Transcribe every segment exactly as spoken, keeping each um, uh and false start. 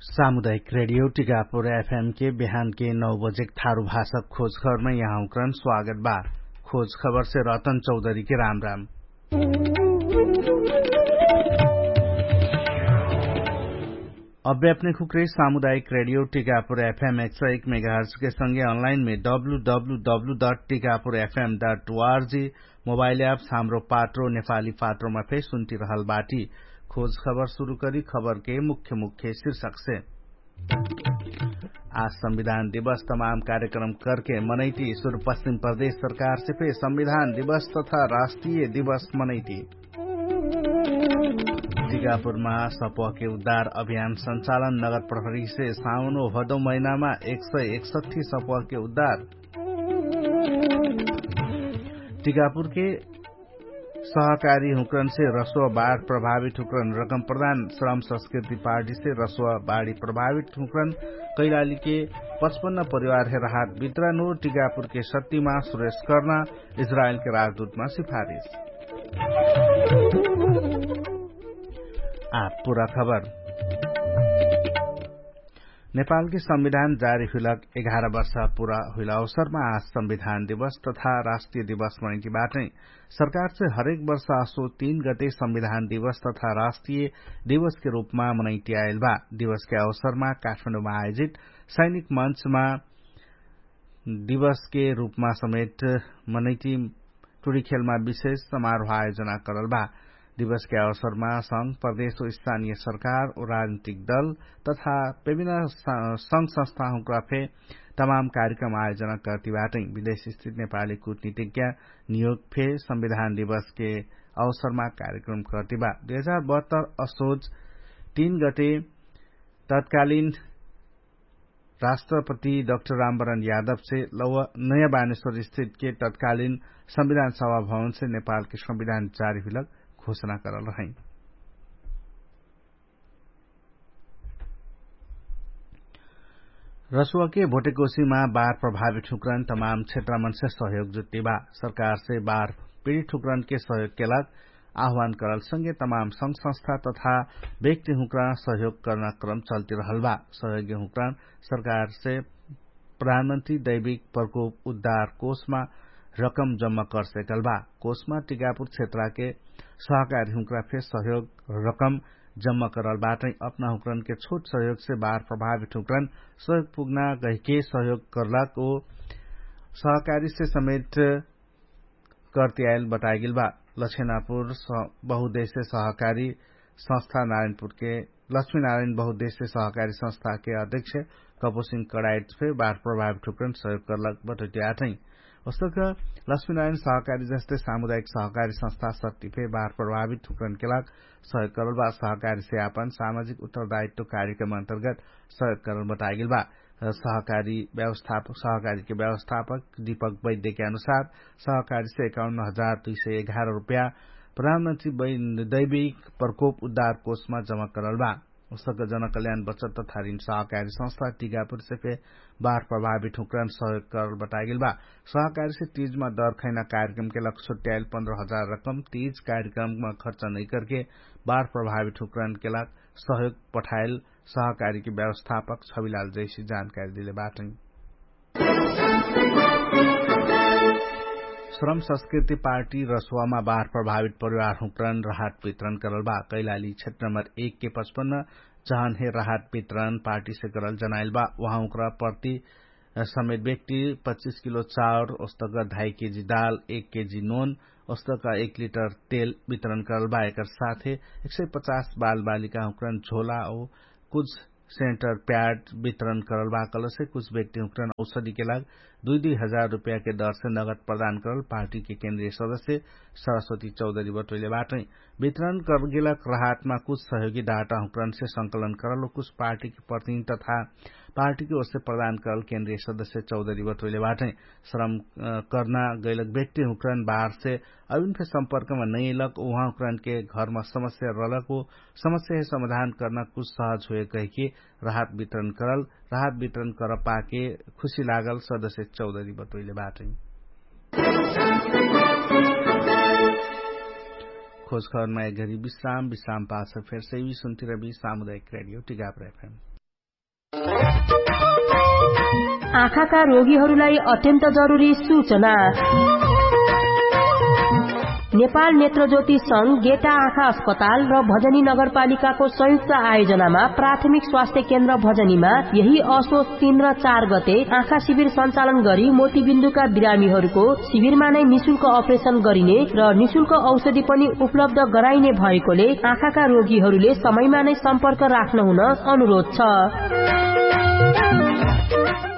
सामुदायिक रेडियो टिकापुर एफएम के बिहान के नौ बजे थारु भाषा खोज खबरमे यहाँ हुक्रन स्वागत बा। खोज खबर से रतन चौधरी के राम राम। अब्बे अपने खुक्रे सामुदायिक रेडियो टिकापुर एफएम एक सौ एक मेगाहर्ज के संगे अनलाइन मे W W W dot Tikapur FM dot ORG mobile apps Hamro Patro नेपाली पात्रोमा फे सुन्ति रहल बाटी। खोज खबर सुरु करी खबर के मुख्य मुख्य शीर्षक से। आज संविधान दिवस तमाम कार्यक्रम करके मनैती सुरु पश्चिम प्रदेश सरकार से फे संविधान दिवस तथा राष्ट्रिय दिवस मनैती। टिकापुरमा सपह के उद्धार अभियान संचालन नगर प्रहरी से साउनो भदौ महिनामा एक सय एकसठी सपह के उद्धार। टिकापुर के सहकारी हुक्रन से रसुवा बाढ प्रभावित हुक्रन रकम प्रदान श्रम संस्कृति पार्टी से रसुवा बाढी प्रभावित हुक्रन कैलाली के पचपन्न परिवार हे राहत वितरण हो। टिकापुर के सत्तिमा सुरेश कर्ना इजरायलके राजदूतमा सिफारिस। आ पुरा खबर। नेपालके संविधान जारी हुइलक एघार वर्ष पुरा हुइल अवसरमा आज संविधान दिवस तथा राष्ट्रिय दिवस मनैति बाटै। सरकारसे हरेक वर्ष असो तीन गते संविधान दिवस तथा राष्ट्रिय दिवसके रूपमा मनैति आइल बा। दिवसके अवसरमा काठमाडौमा आयोजित सैनिक मञ्चमा दिवसके रूपमा समेत मनैति टुरीखेलमा विशेष समारोह आयोजना करल बा। दिवसके अवसरमा संघ प्रदेश ओ स्थानीय सरकार ओ राजनीतिक दल तथा विभिन्न संघ संस्थाहुँक्रा फे तमाम कार्यक्रम आयोजना करती बाटै। विदेश स्थित नेपाली कुटनीतिज्ञ नियोग फे संविधान दिवसके अवसरमा कार्यक्रम करती बा। दुई हजार बहत्तर असोज तीन गते तत्कालीन राष्ट्रपति डाक्टर रामवरण यादव से नयाँ बानेश्वर स्थित के तत्कालीन संविधान सभा भवन से नेपाल के संविधान जारी हुइलक घोषणा करल रहै। रसुवा के भोटेकोसीमा बार प्रभावित हुक्रन तमाम क्षेत्रमन से सहयोग जुट्टी बा। सरकार से बार पीडित हुक्रन के सहयोग के लाग आह्वान करल संगे तमाम संघ संस्था तथा व्यक्ति हुँक्रा सहयोग कर्ना क्रम चल्ति रहल बा। सहयोगी हुँक्रा सरकार से प्रधानमन्त्री दैविक प्रकोप उद्धार कोषमा रकम जम्मा कर सेकल बा। कोषमा टिकापुर क्षेत्रके सहकारी हुँक्रा फे सहयोग रकम जम्मा करल बाटै। अपना हुँक्रन के छोट सहयोग से बार प्रभावित हुँक्रन सहयोग पुग्ना गहिके सहयोग करलक ओ सहकारी से समेट करती आइल बताइगेल बा। लक्ष्मीनापुर बहुदेश्य सहकारी संस्था नारायणपुर के लक्ष्मीनारायण बहुदेश्य सहकारी संस्था के अध्यक्ष कपुसिंह कडाइट फे बार प्रभावित हुक्रन सहयोग करलक बटोटी आठै। ओस्तक लक्ष्मीनारायण सहकारी जस्ते सामुदायिक सहकारी संस्था शक्ति फे बार प्रभावित हुक्रन के लाग सहयोग करल बा। सहकारी से आपन सामाजिक उत्तरदायित्व कार्यक्रम अन्तर्गत सहयोग करल बताइगेल बा। सहकारी व्यवस्थापक सहकारीके व्यवस्थापक दीपक वैद्यके अनुसार सहकारीसे एकाउन्न हजार दुई सय एघार रुपया प्रधानमन्त्री दैविक प्रकोप उद्धार कोषमा जमा करल बा। उसक जनकल्याण बचत तथा ऋण सहकारी संस्था टिकापुरसे फे बार प्रभावित हुँक्रन सहयोग करल बताइगेल बा। सहकारीसे तीजमा दर खैना कार्यक्रमके लग छुट्याइल पन्ध्र हजार रकम तीज कार्यक्रममा खर्च नैकरके बार प्रभावित हुँक्रनके लग सहयोग पठाइल सहकारीके व्यवस्थापक छविलाल जैसी जानकारी दिले बाटै। श्रम संस्कृति पार्टी रसुवामा बार प्रभावित परिवार हुँक्रन राहत वितरण करल बा। कैलाली क्षेत्र नम्बर एक के पचपन्न जहन हे राहत वितरण पार्टी से करल जनाइल बा। उहाँ हुँक्रा प्रति समेत व्यक्ति पच्चिस किलो चाउर ओस्तक ढाई केजी दाल एक केजी नोन ओस्तक एक लिटर तेल वितरण करल बा। एकर साथे एक सय पचास बालबालिका हुँक्रन झोला ओ कुछ सेन्टर प्याड वितरण करल बा। कलसे कुछ व्यक्ति हुँक्रन औषधिके लाग दुई दुई हजार रुपयाके दरसे नगद प्रदान करल पार्टीके केन्द्रीय सदस्य सरस्वती चौधरी बटोइले बाटै। वितरण करगेलक राहतमा कुछ सहयोगी डाटा हुँक्रनसे संकलन करल ओ कुछ पार्टीके प्रतिनिधि तथा पार्टीके ओरसे प्रदान करल केन्द्रीय सदस्य चौधरी बटोइले बाटै। श्रम कर्ना गैलक व्यक्ति हुँक्रन बाहरसे अभिन फे सम्पर्कमा नैलक उहाँ हुँक्रनके घरमा समस्या रहलक ओ समस्या हे समाधान कर्ना कुछ सहज हुए कहिके राहत वितरण करल राहत वितरण कर पाके खुशी लागल सदस्य चौधरी बटोइले बाटै। खोज खबरमा एक घरी विश्राम विश्राम पाछ फेर सैवी सुन्तिरबी सामुदायिक रेडियो टिकापुर एफएम। आँखाका रोगीहरूलाई अत्यन्त जरुरी सूचना। नेपाल नेत्रज्योति संघ गेटा आँखा अस्पताल र भजनी नगरपालिकाको संयुक्त आयोजनामा प्राथमिक स्वास्थ्य केन्द्र भजनीमा यही असोच तीन र चार गते आँखा शिविर सञ्चालन गरी मोतीबिन्दुका बिरामीहरूको शिविरमा नै निशुल्क अपरेसन गरिने र निशुल्क औषधि पनि उपलब्ध गराइने भएकोले आँखाका रोगीहरूले समयमा नै सम्पर्क राख्न हुन अनुरोध छ।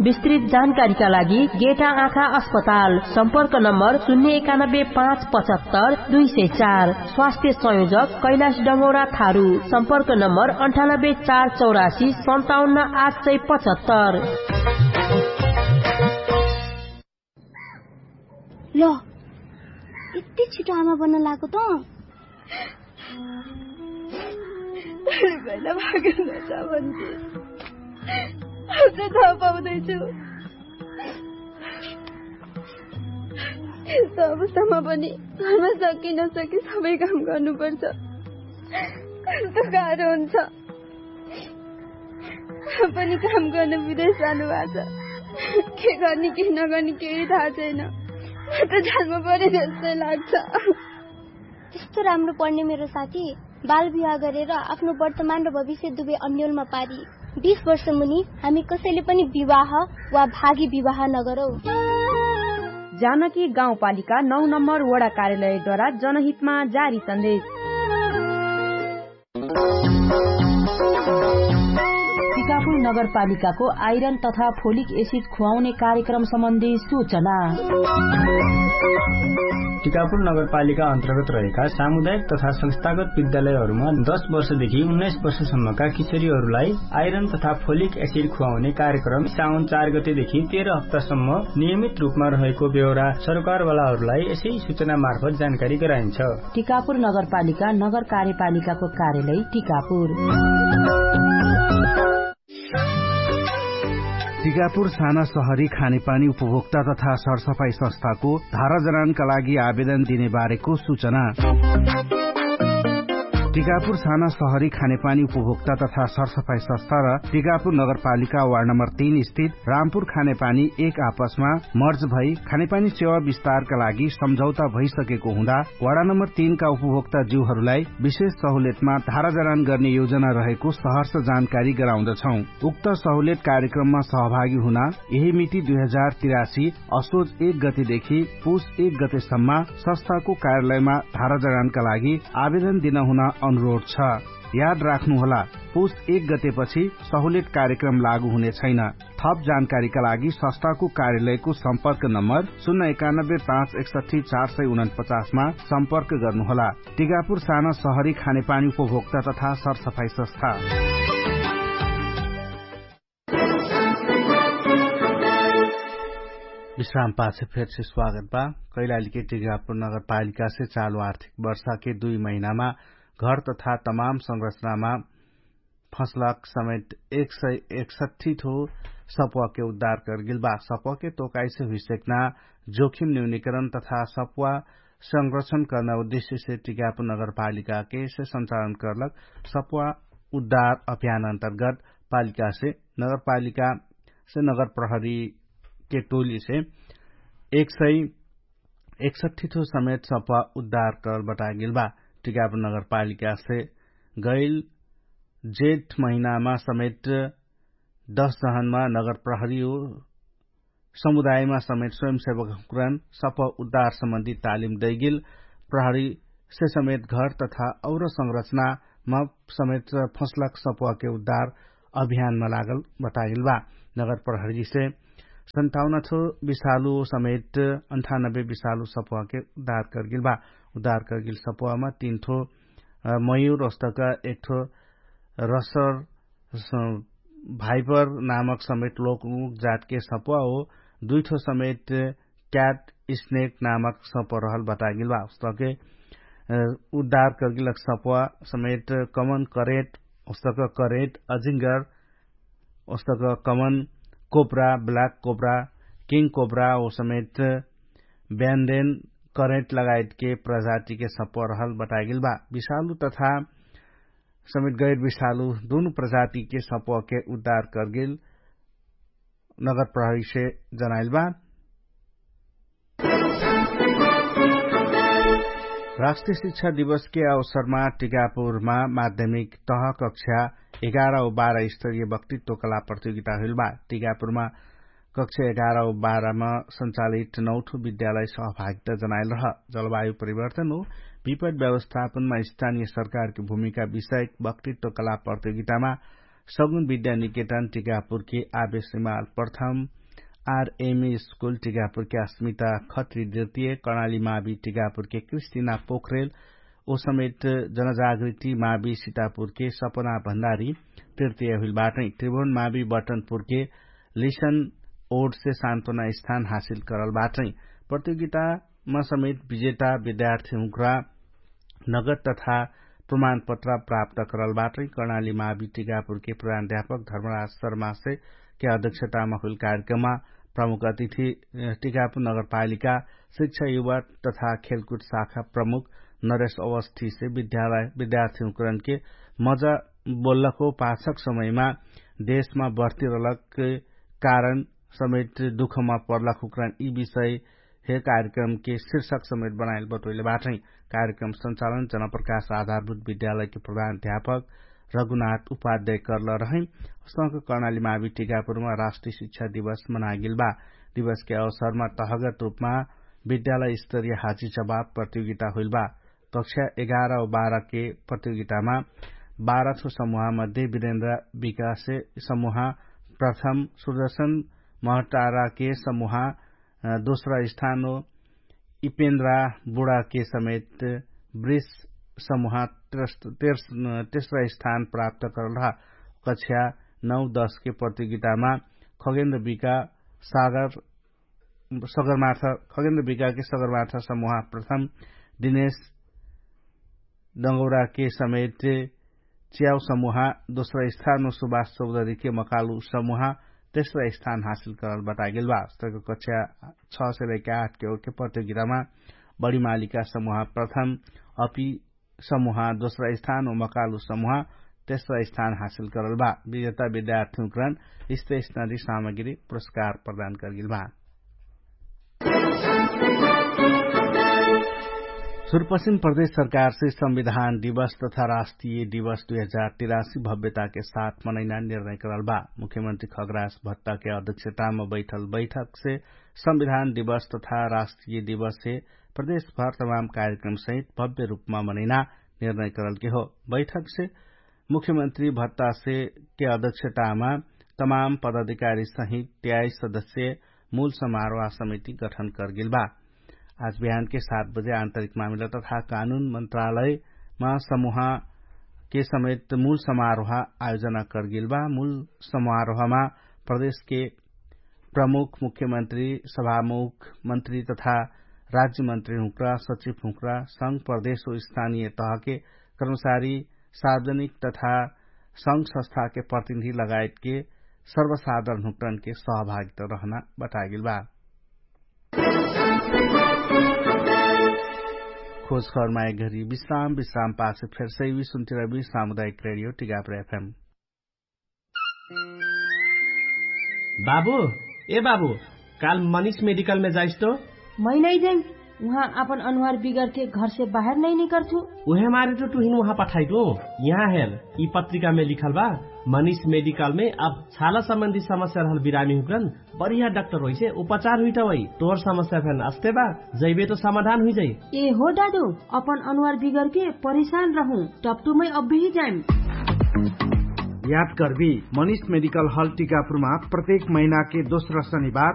विस्तृत जानकारीका लागि गेटा आँखा अस्पताल, सम्पर्क नम्बर शून्य एकानब्बे पाँच पचहत्तर दुई सय चार। स्वास्थ्य संयोजक कैलाश डङ्गौरा थारू, सम्पर्क नम्बर अन्ठानब्बे चार चौरासी सन्ताउन्न आठ सय पचहत्तर। ल, यति छिटो आमा बन्न लागेको त? भैला भागेर नजा भन्थे। अझ थाहा पाउँदैछु। यस्तो अवस्थामा पनि घरमा सकि नसकि सबै काम गर्नुपर्छ। कस्तो गाह्रो हुन्छ। पनि काम गर्न विदेश जानुभएको छ। के गर्ने के नगर्ने केही थाहा छैन। म त जालमा परे जस्तै लाग्छ। त्यस्तो राम्रो पढ्ने मेरो साथी बाल विवाह गरेर आफ्नो वर्तमान र भविष्य दुवै अन्यलमा पारी, बीस वर्ष मुनि हामी कसैले पनि विवाह वा भागी विवाह नगरौ। जानकी गाउँपालिका नौ नम्बर वडा कार्यालयद्वारा जनहितमा जारी सन्देश। टिकापुर नगरपालिकाको आइरन तथा फोलिक एसिड खुवाउने कार्यक्रम सम्बन्धी सूचना। टिकापुर नगरपालिका अन्तर्गत रहेका सामुदायिक तथा संस्थागत विद्यालयहरूमा दस वर्षदेखि उन्नाइस वर्षसम्मका किशोरीहरूलाई आइरन तथा फोलिक एसिड खुवाउने कार्यक्रम साउन चार गतेदेखि तेह्र हप्तासम्म नियमित रूपमा रहेको बेहोरा सरकारवालाहरूलाई यसै सूचना मार्फत जानकारी गराइन्छ। टिकापुर नगरपालिका नगर कार्यपालिकाको कार्यालय टिकापुर। टिकापुर साना सहरी खानेपानी उपभोक्ता तथा सरसफाई संस्थाको धारा जनानका लागि आवेदन दिने बारेको सूचना। टिकापुर साना सहरी खानेपानी उपभोक्ता तथा सरसफाई संस्था र टिकापुर नगरपालिका वार्ड नम्बर तीन स्थित रामपुर खानेपानी एक आपसमा मर्ज भई खानेपानी सेवा विस्तारका लागि सम्झौता भइसकेको हुँदा वार्ड नम्बर तीन का उपभोक्ता ज्यूहरूलाई विशेष सहुलियतमा धारा जनान गर्ने योजना रहेको सहर्ष जानकारी गराउँदछौं। उक्त सहुलियत कार्यक्रममा सहभागी हुन यही मिति दुई हजार तिरासी असोज एक गतेदेखि पुस एक गतेसम्म संस्थाको कार्यालयमा धारा जडानका लागि आवेदन दिन हुन अनुरोध छ। याद राख्नुहोला, पुस एक गतेपछि सहुलियत कार्यक्रम लागू हुने छैन। थप जानकारीका लागि संस्थाको कार्यालयको सम्पर्क नम्बर शून्य एकानब्बे पाँच एकसठी चार सय उनपचासमा सम्पर्क गर्नुहोला। टिकापुर साना सहरी खानेपानी उपभोक्ता तथा सरसफाई संस्था। विश्राम पाछे फेरसे स्वागत बा। कैलालीके टिकापुर नगरपालिकासे चालु आर्थिक वर्षाके दुई महिनामा घर तथा तमाम संरचनामा फसलक समेत एक सय एकसट्ठी ठो सप्वाके उद्धार करगेल बा। सप्वाके तोकाइसे हुइसेक्ना जोखिम न्यूनिकरण तथा सप्वा संरक्षण कर्ना उद्देश्यसे टिकापुर नगरपालिकाके से सञ्चालन कर्लक सप्वा उद्धार अभियान अन्तर्गत पालिकासे नगरपालिकासे नगरप्रहरीके टोलीसे एक सय एकसट्ठी ठो समेत सप्वा उद्धार करल बटागेल बा। टिकापुर नगरपालिकासे गैल जेठ महिनामा समेत दस जहनमा नगरप्रहरी हो समुदायमा समेत स्वयंसेवकहुँक्रन सप्वा उद्धार सम्बन्धी तालिम दैगेल प्रहरीसे समेत घर तथा और संरचनामा समेत फसलक सप्वाके उद्धार अभियानमा लागल बटागेल बा। नगरप्रहरीसे सन्ताउन ठो विषालु समेत अन्ठानब्बे विषालु सप्वाके उद्धार करगेल बा। उद्धार करगेल सप्वामा तीन ठो मयूर ओस्तक एक ठो रसर भाइपर नामक समेत लोक जातके सप्वा हो दुइ ठो समेत क्याट स्नेक नामक सप्वा रहल बटागेल बा। ओस्तके उद्धार करगेलक सप्वा समेत कमन करेट ओस्तक करेट अजिङ्गर ओस्तक common cobra black cobra king cobra ओ समेत ब्यान्डेन करेट लगायतके प्रजातिके सप्वा रहल बटागेल बा। विषालु तथा समेत गैर विषालु दुनु प्रजातिके सपहके उद्धार करगेल नगर प्रहरीसे जनाइल बा। राष्ट्रिय शिक्षा दिवसके अवसरमा टिकापुरमा माध्यमिक तह कक्षा एघार औ बाह्र स्तरीय वक्तित्व कला प्रतियोगिता हुइल बा। टिकापुरमा कक्षा एघार औ बाह्रमा सञ्चालित नौठो विद्यालय सहभागिता जनाइल रह। जलवायु परिवर्तन हो विपट व्यवस्थापनमा स्थानीय सरकारके भूमिका विषयक वक्तित्व कला प्रतियोगितामा सगुन विद्या निकेतन टिकापुरके आवेश हिमाल प्रथम आरएमए स्कुल टिकापुरके अस्मिता खत्री दृतीय कर्णाली मावी टिकापुरके क्रिस्टिना पोखरेल ओ समेत जनजागृति मावी सितापुरके सपना भण्डारी तृतीय हुइल बाटै। त्रिभुवन मावी बटनपुरके लिसन ओडसे सान्त्वना स्थान हासिल करल बाटै। प्रतियोगितामा समेत विजेता विद्यार्थी हुँक्रा नगद तथा प्रमाणपत्र प्राप्त करल बाटै। कर्णाली मावी टिकापुरके प्रधान अध्यापक धर्मराज शर्मासे के अध्यक्षतामा हुइल कार्यक्रममा प्रमुख अतिथि टिकापुर नगरपालिका शिक्षा युवा तथा खेलकुट शाखा प्रमुख नरेश अवस्थीसे विद्यार्थी हुँक्रनके मजा बोल्लको पाछक समयमा देशमा बर्ती रहलक कारण समेत दुखमा पर्लक हुँक्रन यि विषय हे कार्यक्रमके शिर्षक समेत बनाइल बटोइले बाटै। कार्यक्रम सञ्चालन जनप्रकाश आधारभूत विद्यालयके प्रधान अध्यापक रघुनाथ उपाध्याय कर्ल रहै। संक कर्णाली मावी टिकापुरमा राष्ट्रिय शिक्षा दिवस मनागेल बा। दिवसके अवसरमा तहगत रूपमा विद्यालय स्तरीय हाजी जवाब प्रतियोगिता हुइल बा। कक्षा एघार औ बाह्रके प्रतियोगितामा बाह्र ठो समूहमध्ये विरेन्द्र विकासे समूह प्रथम सुर्दर्शन महटाराके समूह दोस्रा स्थान हो। इपेन्द्रा बुढाके समेत वृष समूह तेस्रा स्थान प्राप्त करल रह। कक्षा नौ दसके प्रतियोगितामा खगेन्द्र विका सागर सगरमार्थ खगेन्द्र विकाके सगरमार्थ समूह प्रथम दिनेश डङ्गौराके समेत च्याउ समूह दोस्रा स्थान हो। सुभाष चौधरीके मकालु समूह तेस्रा स्थान हासिल करल बतागेल बा। कक्षा छ से लैके आठ के ओके प्रतियोगितामा बढी मालिका समूह प्रथम अपि समूह दोस्रा स्थान हो मकालु समूह तेस्रा स्थान हासिल करल बा। विजेता विद्यार्थी हुँक्रन स्टेशनरी सामग्री पुरस्कार प्रदान करगेल बा। सुरपश्चिम प्रदेश सरकारसे संविधान दिवस तथा राष्ट्रिय दिवस दुई हजार तिरासी भव्यताके साथ मनैना निर्णय करल बा। मुख्यमन्त्री खगरास भत्ताके अध्यक्षतामा बैठल बैठकसे संविधान दिवस तथा राष्ट्रिय दिवससे प्रदेशभर तमाम कार्यक्रमसहित भव्य रूपमा मनैना निर्णय करलके हो। बैठकसे मुख्यमन्त्री भत्तासे के अध्यक्षतामा तमाम पदाधिकारी सहित त्याइस सदस्य मूल समारोह समिति गठन करगेल बा। आज बिहानके सात बजे आन्तरिक मामिला तथा कानुन मन्त्रालयमा समूहके समेत मूल समारोह आयोजना करगेल बा। मूल समारोहमा प्रदेशके प्रमुख मुख्यमन्त्री सभामुख मन्त्री तथा राज्यमन्त्री हुँक्रा सचिव हुँक्रा संघ प्रदेश हो स्थानीय तहके कर्मचारी सार्वजनिक तथा संघ संस्थाके प्रतिनिधि लगायतके सर्वसाधारण हुँक्रनके सहभागिता रहना बतागेल बा। खोज खबरमा एक घरी विश्राम विश्राम पाछे फेर सैवी सुन्तिरवी सामुदायिक रेडियो टिगाप्रे एफएम। बाबु, ए बाबु, काल मनिष मेडिकलमे जाइस तो? मै नै जाइम। उहाँ आपन अनुहार बिगरके घरसे बाहेर नै निकर्छु। उहे मारे तो तुहिन उहाँ पठाइटु। यहाँ हेल, यि पत्रिकामे लिखल बा, मनिष मेडिकलमे अब छाला सम्बन्धी समस्या रहल बिरामी हुँक्रन बढिया डाक्टर होइसे उपचार हुइटा होइ। तोर समस्या फेन अस्ते बा, जैबे तो समाधान हुइजै। ए हो दादु, अपन अनुहार बिगरके परिशान रहु, टपटुमै अब्बेही जाइम। याद करबी, मनिष मेडिकल हल टिकापुरमा प्रत्येक महिनाके दोस्रा शनिबार